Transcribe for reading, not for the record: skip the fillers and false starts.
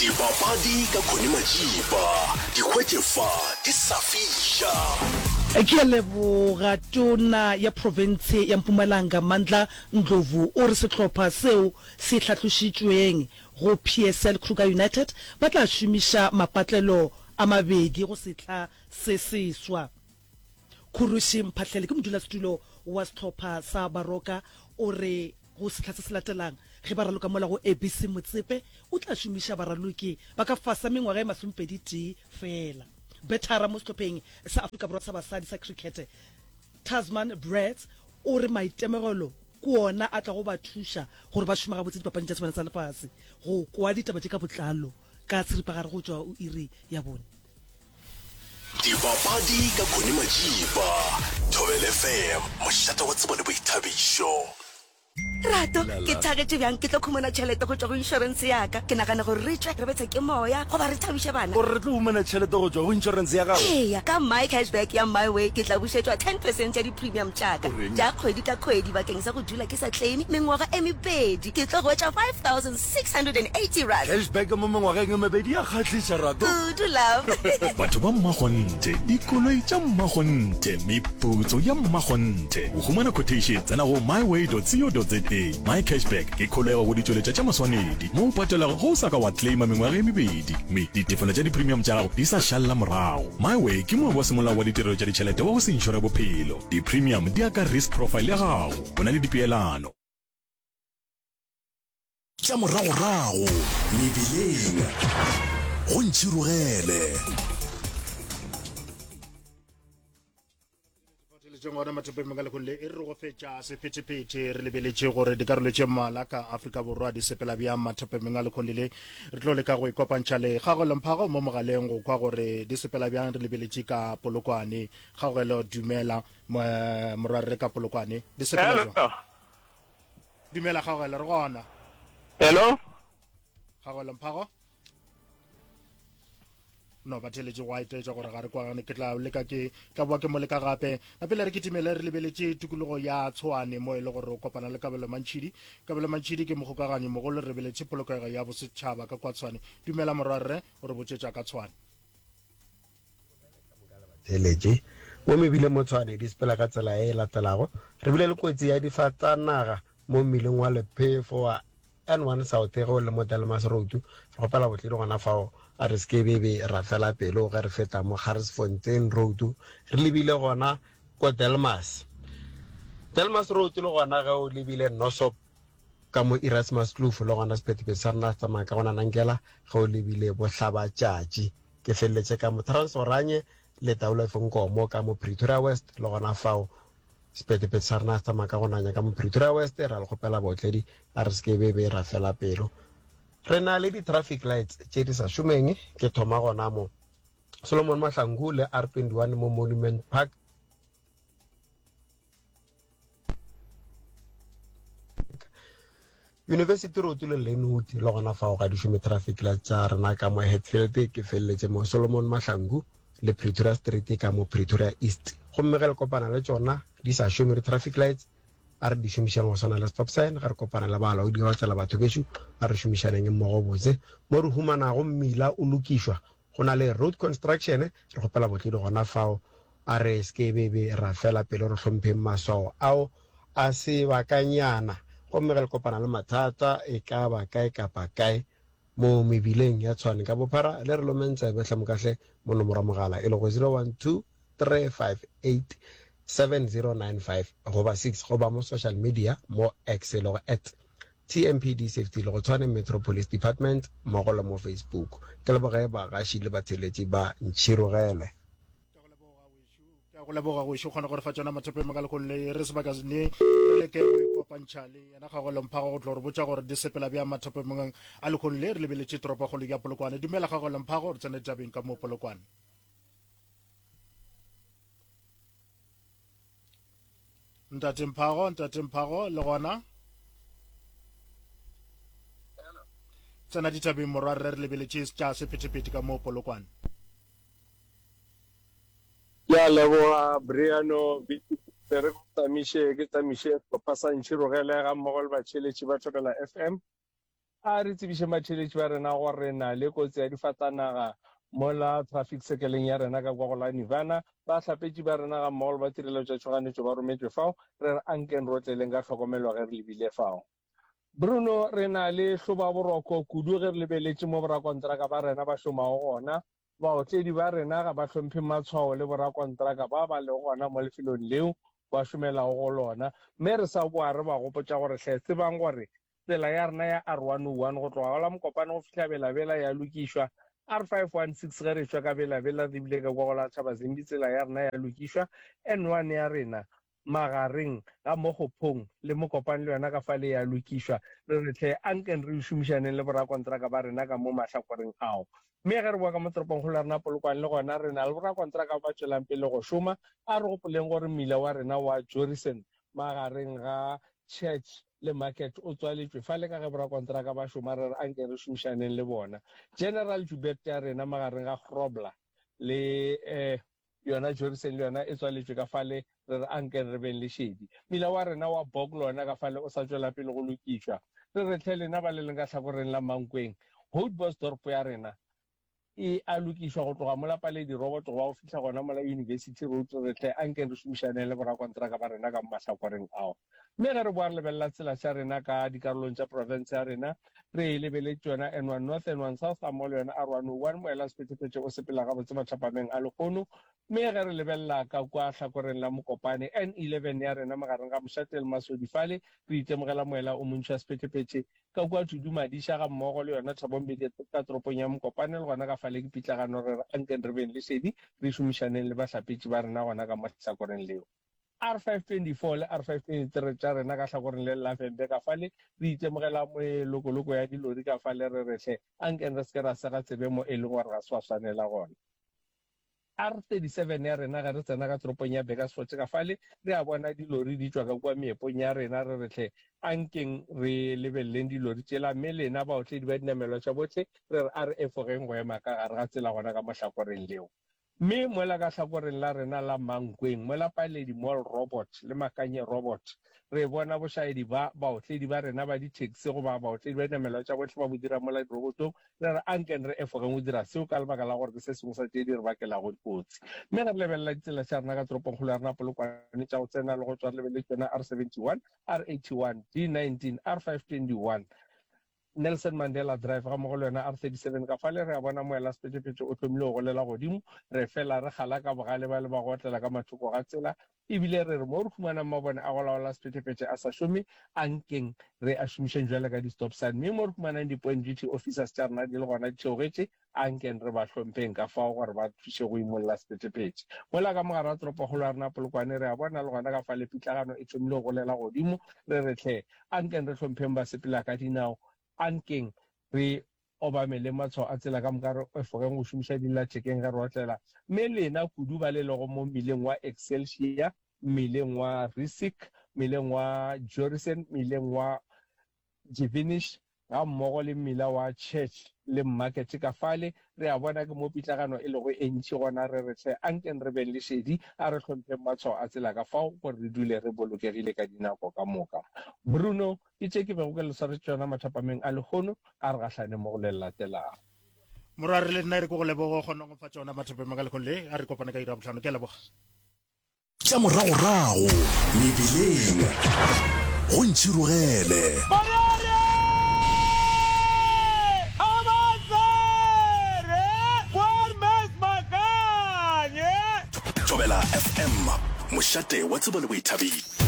Dipapadi ka Connie Majiba, di hwetše fa di sa fiša. Ke a leboga. Tona ya profense ya Mpumalanga Mandla Ndlovu o re sehlopha seo se hlahlošitšweng go PSL Kruger United ba tla šomiša mapatlelo a mabedi go sehla se seswa. Khurushi Mphahlele ke modulasetulo wa sehlopha sa Baroka o re go sehla se se latelang ge ba raloka mola go ABC Motsepe o tla šomiša baraloki ba ka fase ga mengwaga e masomepeditee feela. Bethara mo sehlopheng sa Afrika Borwa sa basadi sa krikete Tasman Brits o re maitemogelo ke ona a tlago ba thuša gore ba šome gabotse dipapading tša Sebana sa Lefase. Go kwa ditaba tše ka botlalo ka seripagare go tšwa o iri ya bone. Dipapadi ka Connie Majiba, Thobela FM, mošate wa tsebo le boithabišo. Rato, ke thagetše bjang ke tlo khumana tšhelete go tšwa go inšorense ya ka. Ke nagana gore re tšwe re bethwe ke moya goba re thabiše bana. O re re tlo humana tšhelete go tšwa go inšorense ya gago? Eya, ka My Cash Back ya MiWay ke tla bušetšwa ten percent ya di-premium tša ka tša kgwedi ka kgwedi bakeng sa go dula ke sa claime mengwaga e mebedi. Ke tlo hwetša R5680. Cash back mo mengwageng e mebedi ya kgahliša, Rato. Kudu, love. Batho ba mmakgonthe, dikoloi tša mmakgonthe, meputso ya mmakgonthe. Go humana quotation, tsena go myway.co.za. My Cash Back ke kholego go ditšweletša tša maswanedi mo o patelago ge o sa ka wa claima mengwaga e mebedi mme ditefelo tša di-premium tša gago di sa šalela morago. MyWay ke moabi wa semolao wa ditirelo tša ditšhelete wa go se inšore bophelo. Di-premium di ya ka risk profile ya gago. Go na le dipeelano. Tša moragorago mebileng go ntšhirogele. Theletšeng gona mathopeng ka lekgong le e re go fetša sephethephethe re lebeletše gore dikarolo tše mmalwa ka Afrika Borwa di sepela bjang mathopeng a lekgong le re tlo leka go ikopantšha le Kgaogelo Mphago mo mogaleng go kwa gore di sepela bjang re lebeletše ka Polokwane. Kgaogelo dumela morwarre ka Polokwane di sepela jwang? Dumela Kgaogelo re gona. Hello. Kgaogelo Mphago. No ba theletše go a itaetša gore ga re kwagane ke tla leka ke tla boa ke mo leka gape na pele re kitimele re lebeletše tikologo ya Tshwane mo e le gore o kopana le Kabelo Mantšhidi Kabelo Mantšhidi ke mogokaganyi mogolo re lebeletše polokego ya bosetšhaba ka kwa Tshwane dumela morwarre o re botšetša ka Tshwane Theletše mo mebileng mo Tshwane di sepela ka tsela e latelago. Re bile le kotsi ya difatanaga mo mmileng wa Lephefo wa N1 South ge o le mo Delmas Road. Re kgopela botledi gona fao a re se ke be be ra fela pelo ge re feta mo Garsfontein Road re lebile gona ko Delmas. Delmas Road le gona ge o lebile Nosop ka mo Erasmus Kloof le gona sephethephethe sa rena se tsamaya ka gona Nankela ge o lebile bohlabatšatši. Ke feleletše ka mo Transoranye le Taulef Nkomo ka mo Pretoria West le gona fao sephethephethe sa rena se tsamaya ka go nanya ka mo Pretoria West ra le kgopela baotledi a re se ke be be ra fela pelo. Re na le di-traffic lights tše di sa šomeng ke thoma gona mo Solomon Mahlangu le R21 mo Monument Park. University Road le Lynnwood le gona fao ga di šome traffic lights tša rena ka mo Hatfield ke feleletše mo Solomon Mahlangu le Pretoria Street ka mo Pretoria East gomme ge le kopana le tšona di sa šome di traffic lights a re di šomišeng go swana le stop sign ge re kopana le balaodi ba tsela batho bešo a re šomišaneng mmogo botse mo re humanago mmila o lokišwa Go na le road construction, re kgopela botledi gona fao, a re se ke be be ra fela pelo re hlompheng maswao ao a sebakanyana. Gomme ge le kopana le mathata e ka ba kae kapa kae mo mebileng ya Tshwane ka bophara, le re lomeng tsebe hle mokahle mo nomoro ya mogala e lego 012 358 7095 goba 6 goba mo social media mo X e lego at TMPD Safety le go Tshwane Metro Police Department mmogo le mo Facebook. Ke leboge bagaši le batheeletši ba Ntšhirogele. Ke a go leboga wešo kgona go re fa tšona mathopeng ka lekgolo le re sebaka ne re leke go ikopantšha le yena Kgagolo Mphago go tlo re botša gore di sepela bjang mathopeng a lekgolo le re lebeletše toropokgolo ya Polokwane. Dumela Kgagolo Mphago, re tsene tabeng ka mo Polokwane. Ntate Mphago, Ntate Mphago, le gona? Tsena ditabeng morwa rre re lebeletše tša sephethephethe ka mo Polokwane. Ke a leboga Briano Be re go tsamiše ke tsamiše sehlopha sa Ntšhirogele ga mmogo le batšheletši ba Thobela FM. A re tsebišeng batheeletši ba rena gore re na le kotsi ya difatanaga mola traffic circle-eng ya rena ka kwa go la Nirvana. Bahlapetši ba rena gammogo le ba tirelo tša tšhoganetšo ba rometšwe fao. Re re ankeng re otleleng ka tlhokomelo ge re lebile fao. Bruno, re na le hlobaboroko kudu ge re lebeletše mo borakontraka ba rena ba šomago gona. Baotledi ba rena ga ba hlomphe matshwao le borakontraka ba ba lego gona mo lefelong leo ba šomelago go lona. Mme re sa boa re ba gopotša gore hle tsebang gore tsela ya rena ya R101 go tloga go la Mokopane go fihla Bela-Bela ya lokišwa, R516 ge re tšwa ka Bela-Bela re lebile ka kwa go la Thabazimbi tsela ya rena ya lokišwa, N1 ya rena magareng ga Mokgophong le Mokopane le yona ka fale ya lokišwa. Re re hle ankeng re šomišaneng le borakontraka ba rena ka mo mahlakoreng ao. Mme ge re boa ka mo toropongkgolo ya rena Polokwane le gona re na le borakontraka ba ba tšwelang pele go šoma. A re gopoleng gore mmila wa rena wa Jorissen magareng ga Church le Market o tswaletšwe fale ka ge borakontraka ba šoma re re anke re šomišaneng le bona. General Joubert ya rena magareng ga Grobler le Yona Jorissen le yona e tswaletšwe ka fale, re re ankeng re beng le šedi. Mmila wa rena wa Bok le wona ka fale o sa tšwela pele go lokišwa. Re re hle lena ba le leng ka hlakoreng la Mankweng, Houtbosdorp ya rena e a lokišwa go tloga mola Paledi Robot go ba go fihla gona mola University Road, re re hle ankeng re šomišaneng le borakontraka ba rena ka mo mahlakoreng ao. Mme ge re boa re lebelela tsela tša rena ka dikarolong tša profense ya rena, re e lebeletše yona N1 North, N1 South gammogo le yona R101, moela sephethephethe o sepela gabotse mathapameng a lehono. Mme ge re lebelela ka kua hlakoreng la Mokopane, N11 ya rena magareng ga Mošate le Masodi fale, re itemogela moela o montši wa sephethephethe ka kua Tudu Madisha gammogo le yona Thabo Mbeki ka toropong ya Mokopane le gona ka fale ke pitlagano re re ankeng re beng le šedi re šomišaneng le bahlapetši ba rena gona ka mo hlakoreng leo. R524 le R523 tša rena ka hlakoreng le la Vhembe ka fale, re itemogela melokoloko ya dilori ka fale re re hle ankeng re se ke ra sega tsebe mo e leng gore ga se wa swanela gona. R37 ya rena ge re tsena ka toropong ya Burgersfort ka fale re a bona dilori di tšwa ka kua meepong ya rena re re hle ankeng re lebeleleng dilori tšela mme lena baotledi ba dinamelwa tša bohle re re a re efogeng go ema ka gare ga tsela gona ka mo hlakoreng leo. Mme mola ka hlakoreng la rena la Mankweng, mola Paledi Mall Robot le Makanye Robot, re bona bošaedi ba baotledi ba rena ba di-taxi goba baotledi ba dinamelwa tša bohle ba bo dira mola dirobotong, re re ankeng re efogeng go dira seo ka lebaka la gore ke se sengwe sa tše di re bakelago dikotsi. Mme ge re lebelela ditsela tša rena ka toropongkgolo ya rena Polokwane tša go tsena le go tšwa re lebeletše yona R71, R81, D19, R521, Nelson Mandela Drive gammogo le yona R37 ka fale re a bona moela sephethephethe o thomile go golela godimo, re fela re kgala ka bogale ba le ba go otlela ka mathoko ga tsela ebile re re mo re humanang mabone a go laola sephethephethe a sa šome a nkeng re a šomišeng bjale ka di-stop sign mme mo re humanang di-point duty officers tša rena di le gona di theogetše a nkeng re ba hlompheng ka fao gore ba thuše go imolla sephethephethe. Mola ka mogare ga toropokgolo ya rena Polokwane re a bona le gona ka fale pitlagano e thomile go golela godimo re re hle A nkeng re hlompheng basepela ka dinao. A nkeng re obameleng matshwao a tsela ka moka, re efogeng go šomiša dillathekeng ge re otlela. Mme lena, kudu ba le lego mo mmileng wa Excelsior, mmileng wa Rissik, mmileng wa Jorissen, mmileng wa Divinish, gammogo le mmila wa Church le Market ka fale, re a bona ke mo pitlagano e lego e ntši gona. Re re hle, ankeng re beng le šedi, a re hlompheng matshwao a tsela ka fao gore re dule re bolokegile ka dinako ka moka. Bruno, Ke tše ke bego ke le swaretše tšona mathapameng a lehono, a re gahlane mo go le le latelago. Morwa, re le nna e re ke go leboge o kgone go mpha tšona mathapameng a lehono le, a re kopane ka iri ya bohlano. Ke a leboga. Tša moragorago mebileng go ntšhirogele. Thobela FM, mošate wa tsebo le boithabišo.